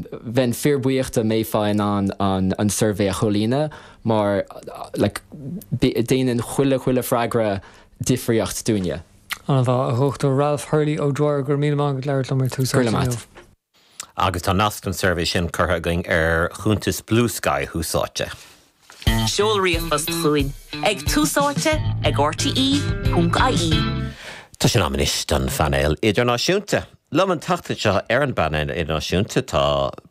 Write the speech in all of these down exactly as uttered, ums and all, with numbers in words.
Bheinn fíorbhuíoch dá mbeifeá in ann an, an suirbhé a chomhlíonadh mar like, déanann chuile chuile freagra difríocht dúinne. An-mhaith a Dhochtúir Ralph Hurley O'Dwyer go raibh míle maith agat labhairt liom ar Tús Áite. Agus tá nasc an suirbhé sin curtha againn ar chuntas Bluesky Thús Áite. Seol ríomhphost chugainn ag túsáite ag RTE ponc IE. Tá sé in am anois don phainéal idirnáisiúnta. Liom an tseachtain seo ar an bpainéal idirnáisiúnta tá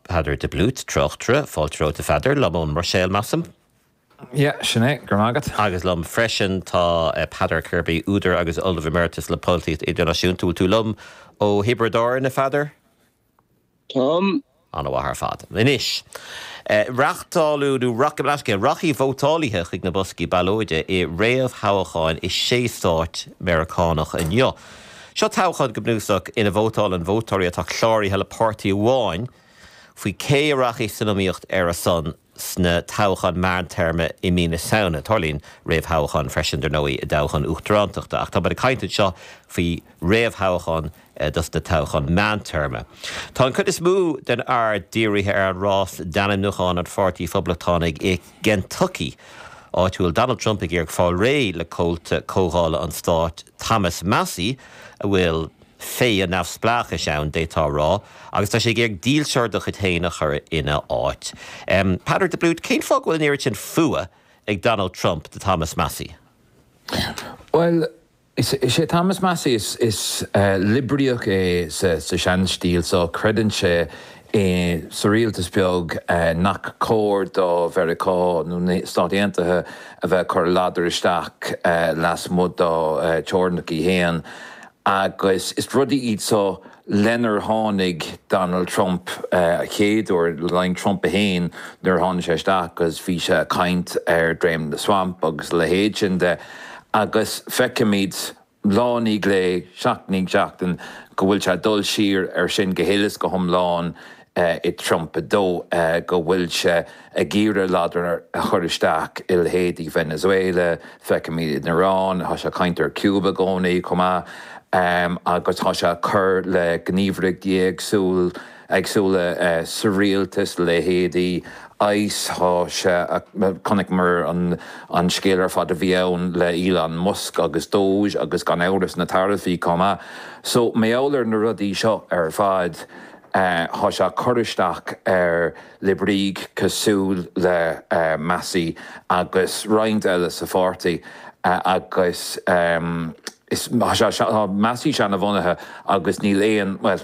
Peadar de Blút tráchtaire fáilte romhat a Pheadair liom ón mBruiséil measaim. Ja, sin é gur agat. Agus liom freisin tá eh, Peadar Kirby údar agus Ollamh Emeritus le polaitíocht idirnáisiúnta tú liom ó Thiobraid Árann a Pheadair? Tom An-mhaith ar fad. Anois. Uh, Reáchtáladh nó rachaidh vótálaithe chuig na boscaí ballóide i réamhthoghcháin i sé stát Meiriceánach inniu. Seo toghchán go bunúsach ina vótálann vótóirí atá cláraithe le páirtí amháin faoi cé a rachaidh san iomaíocht ar a son sna toghcháin meántéarma i mí na Samhna. Tarlaíonn réamhthoghchán freisin dar ndóigh i dtoghchán uachtaránachta ach tá ag caint seo faoi réamhthoghchán eh, dos na toghcháin meántéarma. Tá an chuid is mó den aird dírithe ar an rás d'ainmniúchán an Pháirtí Phoblachtánaigh i Kentucky. Áit a bhfuil Donald Trump ag iarraidh fáil réidh le comhalta comhdhála an stáit Thomas Massie a bhfuil féith an neamhspleáchais ann d'fhéadfá rá, agus tá sé ag iarraidh dílseoir dá chuid féin a chur ina áit. Um, Peadar de Blút cén fáth go bhfuil an oiread sin fuath ag Donald Trump do Thomas Massie? Well, Is, is é Thomas Massie is, is uh, liobrálach é sa, sa seanstíl so creideann sé é sa rialtas beag uh, nach cóir do Mheiriceá nó Stáit Aontaithe a bheith cur ladar isteach uh, lasmuigh dá uh, teorainneacha féin. agus is rudaí iad so lenar tháinig Donald Trump uh, a chéadúir lein Trump a haon nuair tháinig sé isteach agus bhí sé ag caint ar drain the swamp agus a leithéid sin de agus feicimid lá i ndiaidh lae seachtain i ndiaidh seachtain go bhfuil sé dul siar ar sin go huile is go hiomlán uh, i Trump a dó uh, go bhfuil sé ag iarraidh ladar a chur isteach i leithéidí Venezuela, feicimid in Iran, tá sé caint ar Cuba i gcónaí chomh maith um, agus tá sé cur le gníomhaireachtaí éagsúil éagsúla uh, sa rialtas leithéidí ICE tá sé chonaiceamar an, an scéal ar fad a bhí ann le Elon Musk agus DOGE agus gan amhras na taraifí chomh maith. So meolar na rudaí seo ar fad Tá sé cur isteach ar liobrálaigh cosúil le uh, Massie agus roinnt eile sa pháirtí uh, agus um, is Massie seanbhunaithe agus níl aon well,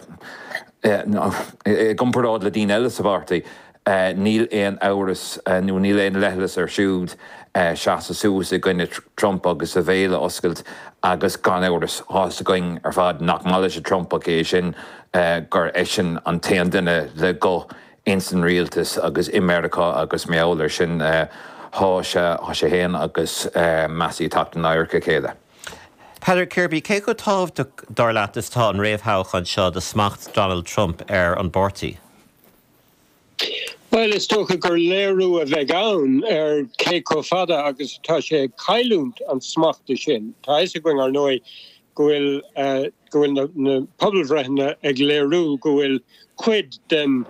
i gcomparáid le daoine eile sa pháirtí. Uh, níl aon amhras uh, nó níl aon leithleas air siúd uh, seasamh suas i gcoinne Trump agus a bhéal a oscailt agus gan amhras tá a fhios againn ar fad nach maith leis Trump é sin uh, gur eisean an t-aon duine le guth insan rialtas agus i Meiriceá agus meolar sin uh, tá sé tá sé féin agus uh, Massie ag teacht in adharca a chéile. Peadar Kirby cé chomh tábhachtach dar leat is atá an réamhthoghchán seo do smacht Donald Trump ar an bpáirtí. Well is dócha gur léiriú a bheidh ann ar cé chomh fada agus tá sé ag cailliúint an smachta sin. Tá sé againn ar ndóigh go bhfuil uh, go bhfuil na, na pobalbhreitheanna ag léiriú go bhfuil cuid den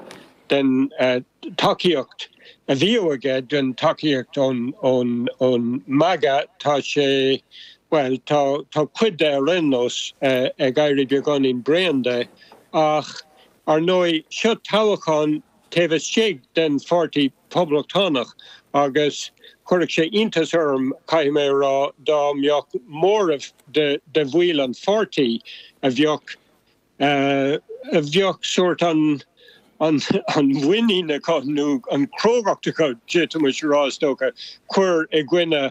den uh, tacaíocht a bhí aige den tacaíocht ón ón ón MAGA tá sé well tá tá cuid de ar aon nós uh, ag éirí beagáinín bréan de ach ar ndóigh seo toghchán taobh istigh den pháirtí poblachtánach agus chuirfeadh sé iontas orm caithfidh mé rá dá mbeadh móramh de de bhaill an pháirtí a bheadh uh, a bheadh sórt an an an mhuinín acu nó an chrógacht acu d'fhéadfaimis rá is dócha cur i gcoinne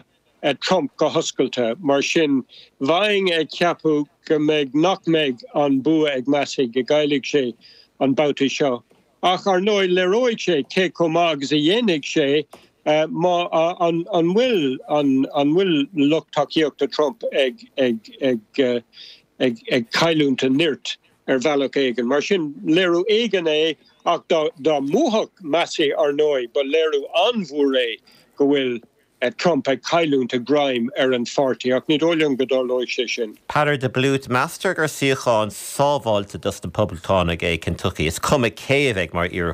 uh, Trump go hoscailte mar sin bheinn ag ceapadh go mbeidh nach mbeidh an bua ag Massie go gcaillfidh sé an babhta seo. Ach ar ndóigh léireoidh sé cé chomh maith agus a dhéanfaidh sé uh, má uh, an, an bhfuil an, an bhfuil lucht tacaíochta Trump ag ag ag, uh, ag, ag cailliúint a nirt ar bhealach éigin. Mar sin léiriú éigin é ach dá, dá mbuafadh Massie ar ndóigh, ba léiriú an-mhór é go bhfuil uh, Trump ag cailliúint a ghreim ar an pháirtí ach ní dóigh liom go dtarlóidh sé sin. Peadar de Blút meastar gur suíochán sábháilte dos na Poblachtánaigh é Kentucky. Is cuma cé a bheidh mar iarrthóir